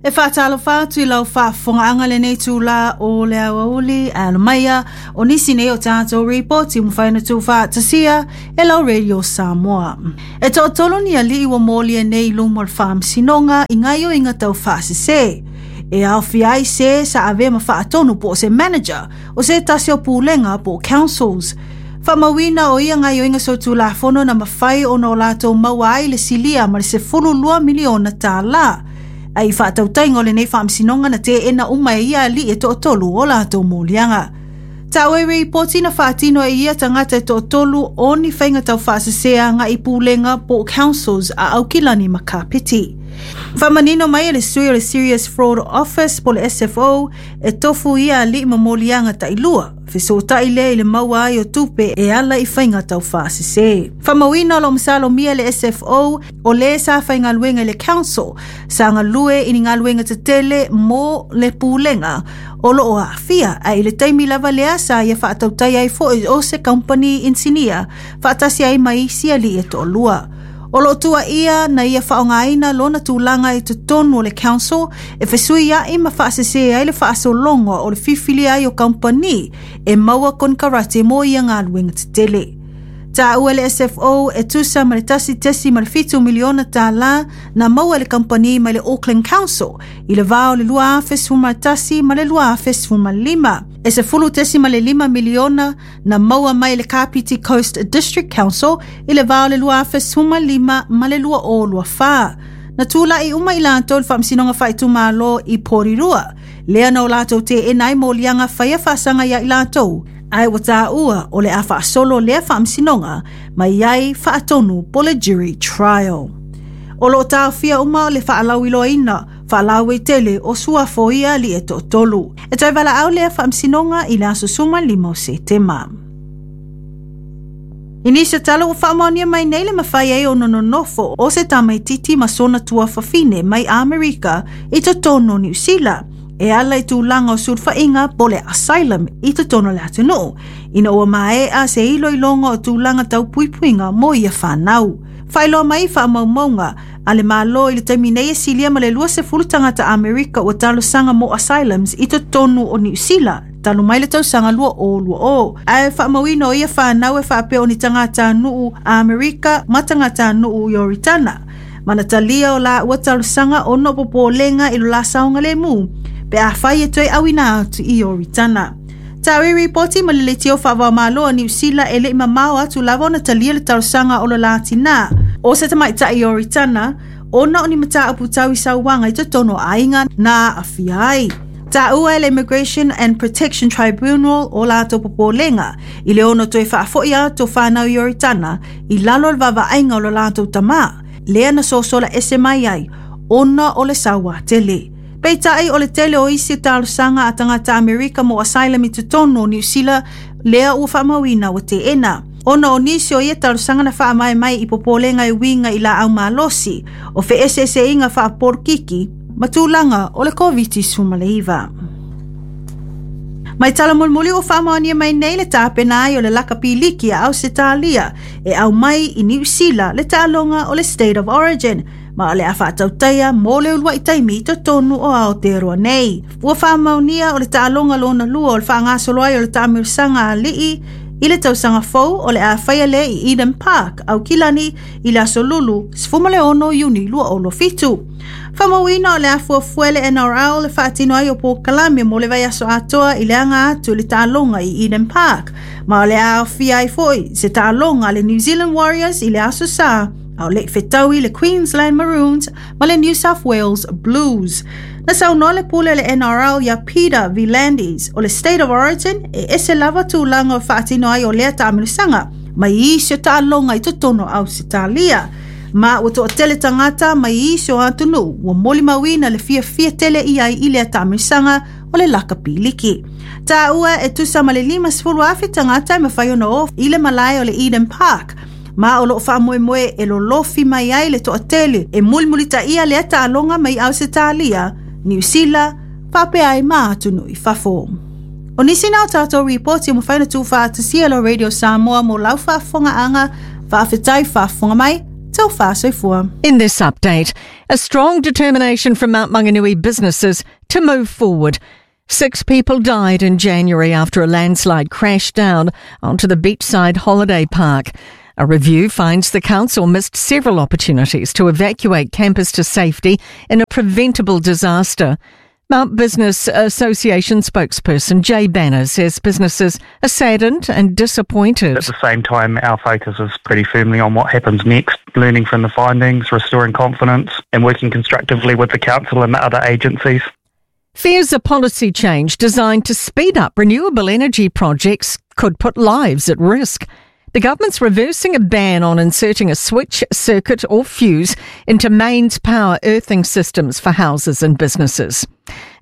E faatalofa atu i lau faafofogaaga lenei itulā o le aoauli alomaia o nisi nei o tatou ripoti ua mafai ona tuufaatasia e lau Radio Samoa. E toatolu ni alii ua molia nei i luma o le faamasinoga i gaoioiga tau faasese. E aofia ai se sa avea ma faatonu po o se manager o se tasi o pulega po o councils. Faamauina o ia gaoioiga solitulafono na mafai ona o latou maua ai le silia ma le $12 miliona tālā. Ae i faatautaiga o lenei faamasinoga na teena uma e ia alii e toatolu o latou moliaga. Taua i ripoti na faatino e ia tagata e toatolu o ni faiga tau faasese agai i pulega po o councils a Aukilani ma Kapiti. Faamanino mai e le sui o le Serious Fraud Office po o le SFO e tofu ia alii ma moliaga tailua, fesootai lea i le maua ai o tupe e ala i faiga tau faasese. Faamauina o lo o masalomia le SFO o le sa faigaluega i le council sa galue i ni galuega tetele mo le pulega o lo o aafia, ae i le taimi lava lea sa ia faatautai ai foi o se kamupani inisinia faatasi ai ma isi alii e toalua. O lo o tuuaia na ia faaaogaina lona tulaga i totonu o le council e fesuiai ma faasese ai le faasologa o le filifilia ai o kamupani e maua konekarate mo ia galuega tetele. Taua e le SFO e tusa ma le $1.7 miliona tālā na maua e le kamupani mai le Auckland Council i le vā o le 2011 ma le 2015. E $10.5 miliona na maua mai e le Kapiti Coast District Council i le vā o le 2015 ma le 2024. Na tula'i uma i latou i le Faamasinoga Faaitumalo i Porirua, lea na o latou teena ai moliaga faia faasaga ia i latou, ae ua taua o le a faasolo lea faamasinoga mai ai faatonu po le jury trial. O lo o taofia uma le faalauiloaina faalauaitele o suafa o ia alii e toatolu. E toe valaau lea faamasinoga i le aso 15 o Setema. I nisi o tala ua faamaonia mai nei le mafai ai ona nonofo o se tamaititi ma sona tuafafine mai Amerika i totonu o Niu Sila e ala i tulaga o sulufaiga po le asylum i totonu o le atunuu, ina ua maea se iloiloga o tulaga tau puipuiga mo ia fanau. Faailoa mai i faamaumauga a le Malo i le taimi nei e silia ma le 20 tagata Amerika ua talosaga mo asylums i totonu o Niu Sila talu mai le tausaga 2020. Ae faamauina o ia fanau e faapea o ni tagatanuu Amerika ma tagatanuu Ioritana. Ma na talia o laua talosaga ona o popolega i lo la saogalemu pe afai e toe auina atu i Ioritana. Taua i ripoti ma le leitio faava-o-Malo a Niu Sila e le i mamao atu lava ona talia le talosaga o lo la tinā o se tamaitai Ioritana ona o ni mataupu tau i sauaga i totonu o aiga na aafia ai. Taua e le Immigration and Protection Tribunal o latou popolega i le ono toe faafoi atu o fanau Ioritana i lalo o le vaavaaiga o lo latou tamā, lea na sosola ese mai ai ona o le sauā tele. Peitai o le tele o isi talosaga a tagata Amerika mo asylum i totonu o Niu Sila lea ua faamauina ua teena. Ona o nisi o ia talosaga na faamae mai i popolega e uiga i laau malosi, o feeseeseaiga faapolokiki ma tulaga o le Koviti-19. Mai tala mulimuli ua faamaonia mai nei le tapena ai o le lakapi liki a Ausetalia e aumai i Niu Sila le taaloga o le State of Origin ma o le a faatautaia mo le uluai taimi i totonu o Aotearoa nei. Ua faamaonia o le taaloga lona lua o le faagasolo ai o le taamilosaga a alii i le tausaga fou o le a faia lea i Eden Park, Aukilani i le aso Lulu 16 Iuni 2027. Faamauina o le a fuafua e le NRL le faatino ai o polokalame mo le vaiaso atoa i le aga atu i le taaloga i Eden Park, ma o le a aofia ai foi se taaloga a le New Zealand Warriors i le aso Sa a o le i fetaui le Queensland Maroons ma le New South Wales Blues. Na saunoa le pule o le NRL iā Peter V'landys o le State of Origin e ese lava tulaga o faatino ai o lea taamilosaga mai isi o taaloga i totonu o Ausetalia. Ma ua toatele tagata mai isi o atunuu ua molimauina le fiafia tele i ai i lea taamilosaga o le lakapi liki. Taua e tusa ma le 50,000 tagata e mafai ona o i le malae o le Eden Park, ma o lo o faamoemoe e lolofi mai ai le toatele e mulimulitaia lea taaloga mai Ausetalia, Niu Sila, faapea ai ma atunuu i fafo. O nisi na o tatou ripoti ua mafai ona tuufaatasia e lo Radio Samoa mo lau faafofogaaga, faafetai faafofoga mai, Taufa soifua. In this update, a strong determination from Mount Maunganui businesses to move forward. 6 people died in January after a landslide crashed down onto the beachside holiday park. A review finds the council missed several opportunities to evacuate campers to safety in a preventable disaster. Mount Business Association spokesperson Jay Banner says businesses are saddened and disappointed. At the same time, our focus is pretty firmly on what happens next, learning from the findings, restoring confidence and working constructively with the council and the other agencies. Fears a policy change designed to speed up renewable energy projects could put lives at risk. The government's reversing a ban on inserting a switch, circuit or fuse into mains power earthing systems for houses and businesses.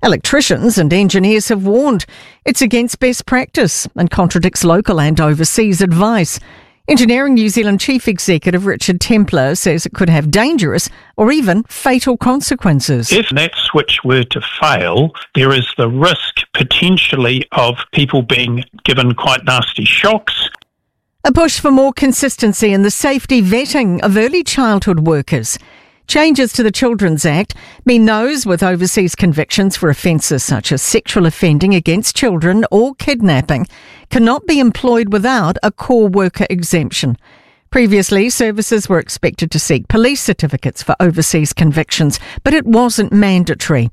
Electricians and engineers have warned it's against best practice and contradicts local and overseas advice. Engineering New Zealand Chief Executive Richard Templer says it could have dangerous or even fatal consequences. If that switch were to fail, there is the risk potentially of people being given quite nasty shocks. A push for more consistency in the safety vetting of early childhood workers. Changes to the Children's Act mean those with overseas convictions for offences such as sexual offending against children or kidnapping cannot be employed without a core worker exemption. Previously, services were expected to seek police certificates for overseas convictions, but it wasn't mandatory.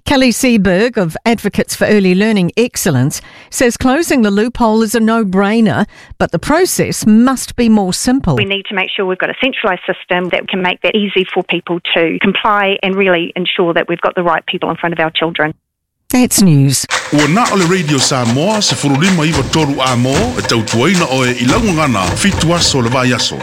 Kelly Seaberg of Advocates for Early Learning Excellence says closing the loophole is a no-brainer, but the process must be more simple. We need to make sure we've got a centralised system that can make that easy for people to comply and really ensure that we've got the right people in front of our children. That's news. Ua na o le Radio Samoa, se furulima iwa toru a mo, e tautuaina oe i laungana, fitu aso le vai aso.